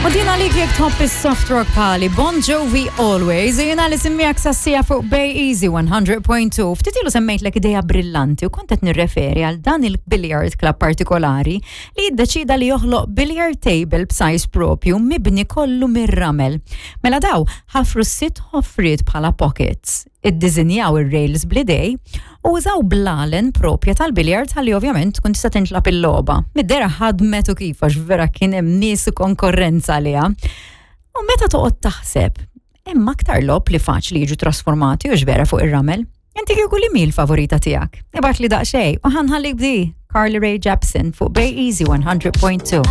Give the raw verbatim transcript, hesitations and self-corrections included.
U din għalik jekk tħobb is-soft rock pali Bon Jovi Always, jiena li semmiegħek sassija fuq Bay Easy one hundred point two. Ftit ilu semmejtlek ideja brillanti u kont qed nirreferi għal dan il-billiard club partikolari li jiddeċida li joħloq billiard table b'size propju mibni kollu mir-ramel. Mela daw ħafru sitt ħofriet bħala pockets, iddiżinjaw ir-rails bl-idejn u użaw blalen propja tal-billiard ħalli ovvjament tkun tista' tintlagħab il-logħba. Mid-dehra ħadmet u kif, għax vera kien hemm nies u konkorrenza għaliha. U meta toqgħod taħseb, hemm aktar logħob li faċli jiġu trasformati u vera fuq ir-ramel. Inti kieku li mi l-favorita tiegħek? Ibgħatli daqsxejn u ħa nħallik b'di Carly Rae Jepsen fuq Bay Easy one hundred point two.